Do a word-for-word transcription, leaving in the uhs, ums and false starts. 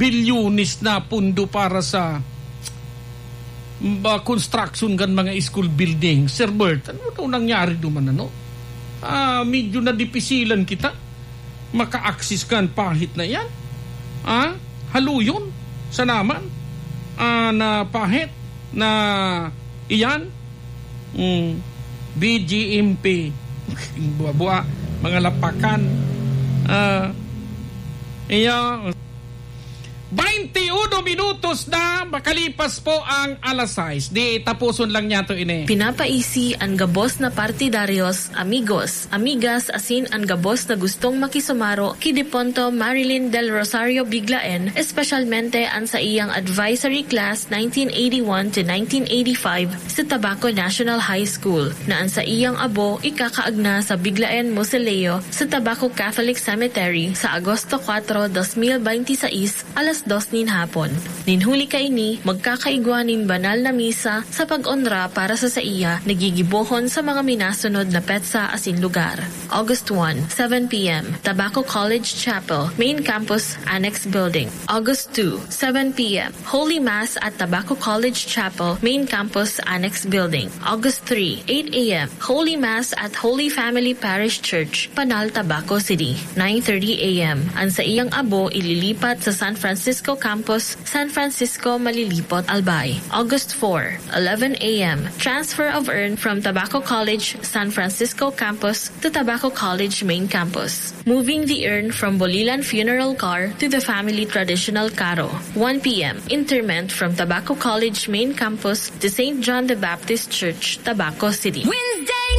bilyones na pondo para sa, ba, construction kan mga school building. Sir Bert, ano daw nangyari duman, ano? Ah, medyo nadipisilan kita maka-access kan pahit na iyan. Ah, haluyon sa naman. Ah, na pahit na iyan. Mm, B G M P. Buwa-buwa, mga lapakan. Ah, iya, bainti uno minutos na makalipas po ang alas sais. Di, tapuson lang niya to ini. Pinapaisi an gabos na partidaryos, amigos, amigas, asin an gabos na gustong makisumaro ki Deponto Marilyn Del Rosario Biglaen, espesyalmente an sa iyang advisory class nineteen eighty-one to nineteen eighty-five sa Tabaco National High School, na an sa iyang abo ikakaagna sa Biglaen Mausoleo sa Tabaco Catholic Cemetery sa Agosto kuwatro, dos mil bente seis, alas dos nin hapon. Nin huli kaini, magkakaigwa nin banal na misa sa pag-onra para sa saiya na gigibohon sa mga minasunod na petsa asin lugar. August one, seven p m, Tabaco College Chapel, Main Campus, Annex Building. August two, seven p m, Holy Mass at Tabaco College Chapel, Main Campus, Annex Building. August three, eight a m, Holy Mass at Holy Family Parish Church, Panal, Tabaco City, nine thirty a m. An saiyang abo ililipat sa San Francisco Campus, San Francisco, Malilipot, Albay. August four, eleven a m, transfer of urn from Tabaco College, San Francisco Campus to Tabaco College Main Campus. Moving the urn from Bolilan Funeral Car to the family traditional carro. One p m, interment from Tabaco College Main Campus to Saint John the Baptist Church, Tabaco City. Wednesday